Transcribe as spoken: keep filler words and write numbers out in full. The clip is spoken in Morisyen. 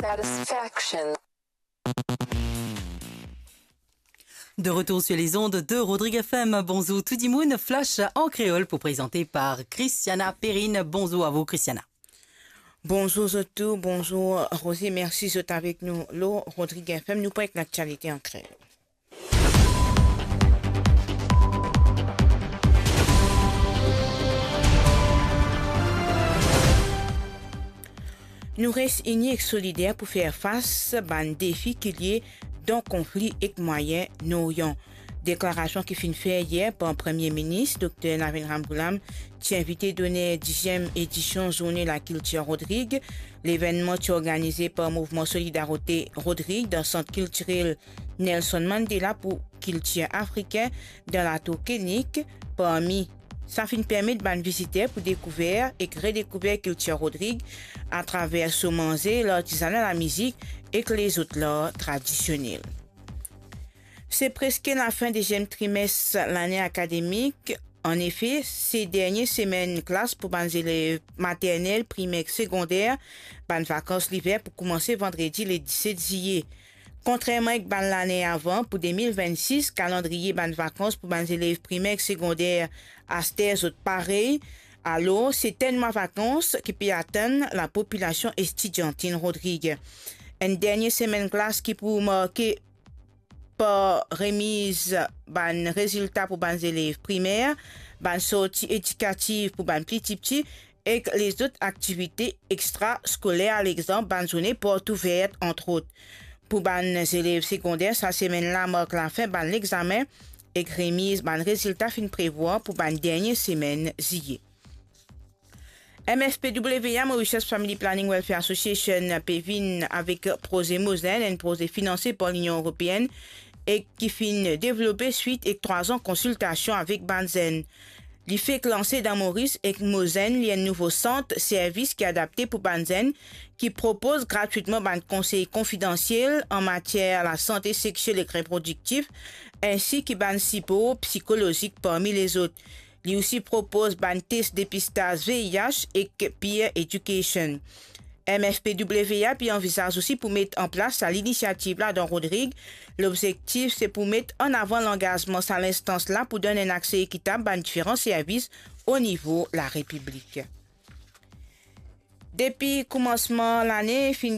Satisfaction. De retour sur les ondes de Rodrigue F M. Bonzour tou dimounn, Flash an kreol pou prezante par Christiana Perrine. Bonzour avou, Christiana. Bonzour zot tou, bonzour Rosie, mersi zot avek nou lor Rodrigue F M. Nou pou ek laktialite an kreol. Nou res ini ek solider pou fer fas bann defi ki lie dan konfli ek Mwayen Noryan. Deklarasion ki finn fer yer par Premie Minis Dokter Navin Ramgoolam, ti invite doner diziem edision Zourne Lakiltir Rodrig. Levennman ti organize par Mouvman Solidarite Rodrig dan Sant Kiltirel Nelson Mandela pou Kiltir Afrikin dan Latour Kennick. Parmi sa finn permet bann viziter pou dekouver ek redekouver kiltir Rodrig atraver so manze, lartizana, lamizik ek lezot lar tradisionel. Se preske lafin deziem trimes lane akademik. Anefe, se dernie semenn klas pou bann zelev maternel, primer ek segonder. Bann vakans liver pou koumanse vandredi le diset ziye. Kontrerman ek bann lane avan, pou de mil vennsis, kalandriye bann vakans pou bann zelev primer ek segonder aster zot parey. Alor, se tenn mwa vakans ki pe atann lapopilasion estidiantin Rodrig. Enn dernie semenn klas ki pou marke par remiz bann rezilta pou bann zelev primer, bann sorti edikatif pou bann pli tipti ek lezot aktivite extraskoler, alexanp bann zourne port ouver, antrot. Pou bann zelev segonder, sa semenn la mark lafin bann lexame ek remiz bann rezilta finn prevwar pou bann dernie semenn ziye. M F P W A, Mauritius Family Planning Welfare Association, pe vinn avek proze Mozenn, enn proze finanse par Linion Eropeenn e ki finn devlope swit ek trwa an konsiltasion avek bann zenn. Li fek lanse dan Moris ek Mozenn, li enn nouvo sant servis ki adapte pou bann zenn, ki propoz gratwitman bann konsey konfidansiel an matier lasante sexiel ek reprodiktif, ensi ki bann sipor psikolozik parmi lezot. Li osi propoz bann tes depistaz V I H ek peer education. M F P W A pe anvizaz osi pou met an plas sa linisiativ la dan Rodrig. Lobzektif se pou met an avan langazman sa linstans la pou donn enn akse ekitab bann diferan servis o nivo Larepiblik. Depi koumansman lane, finn